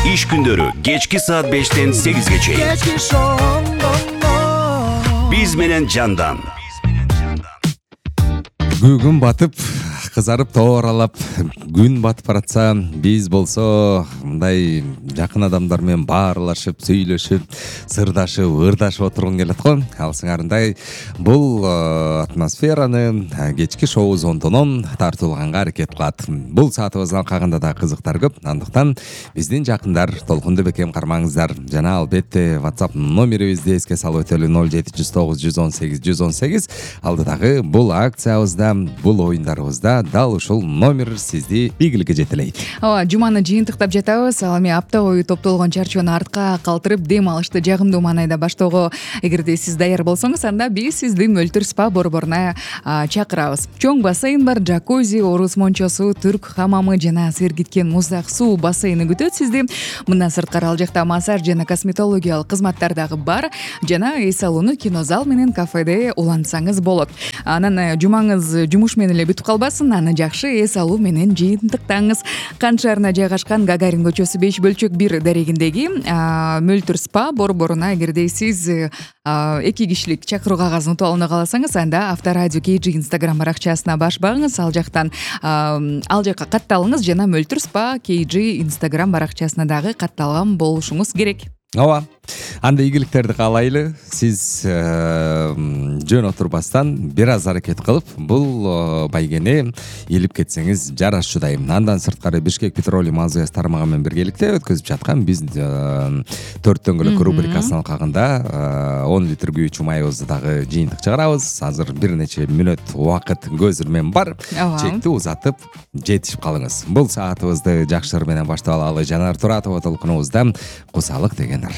Иш күндөрү кечки саат 5-тен 8-ге чейин. Биз менен Жандан. Күн батып, кызарып тооралап, күн батып баратса, биз болсо мындай жакын адамдар менен баарлашып, сүйлөшүп, сырдашып, ырдашып отургун келет го. Ал сыңарындай бул атмосфераны кечки шоу зондонон тартуулганга аракет кылат. Бул саатыбыздын алкагында да кызыктар көп. Андыктан биздин жакындар толкунду бекем кармаңыздар. Жана албетте WhatsApp номерибизди эске салып өтөлү 079 118 118. Алдыдагы бул акциябызда, бул оюндарыбызда дал ушул номер сизди ийгиликке жетелейт. Ооба, жуманы жыйынтыктап жатабыз. Ал эми апта бою топтолгон чарчоону артка калтырып, дем алышты жагымдуу маанайда баштоого эгерде сиз даяр болсоңуз, анда биз сизди Мөлтүр спа борборуна чакырабыз. Чоң бассейн бар, джакузи, орус мончосу, түрк хамамы жана сергиткен муздак суу бассейни күтөт сизди. Мындан сырткары ал жакта массаж жана косметологиялык кызматтар дагы бар. Жана эй салону, кинозал менен кафеде улантсаңыз болот. Анан жумаңыз жумуш менен эле бүтүп калбасын, аны жакшы эс алуу менен жыйынтыктаңыз. Кан шаарына жайгашкан Гагарин көчөсү 5/1 дарегиндеги Мөлтүр спа борборуна эгерде сиз 2 кишилик чакыруу кагазын утуп алууну кааласаңыз, анда Авторадио KG Instagram баракчасына баш багыңыз, ал жактан ал жакка катталыңыз жана Мөлтүр спа KG Instagram баракчасына дагы катталган болушуңуз керек. Ооба. Анда ийгиликтерди каалайлы. Сиз жөн отурбастан бир аз аракет кылып, бул байгени илип кетсеңиз жарашчудай. Андан сырткары Бишкек Петролиум аз газ тармагы менен биргеликте өткөзүп чаткан биз 4 дөңгөлөк рубрикасынын алкагында 10 литр күйүүчү майыбызды дагы жыйынтык чыгарабыз. Азыр бир нече мүнөт убакыт көз ирмен бар. Чекти узатып жетишип калыңыз. Бул саатыбызды жакшы ыр менен баштап алалы. Жанар Туратова толкунубузда кусалык дегендер.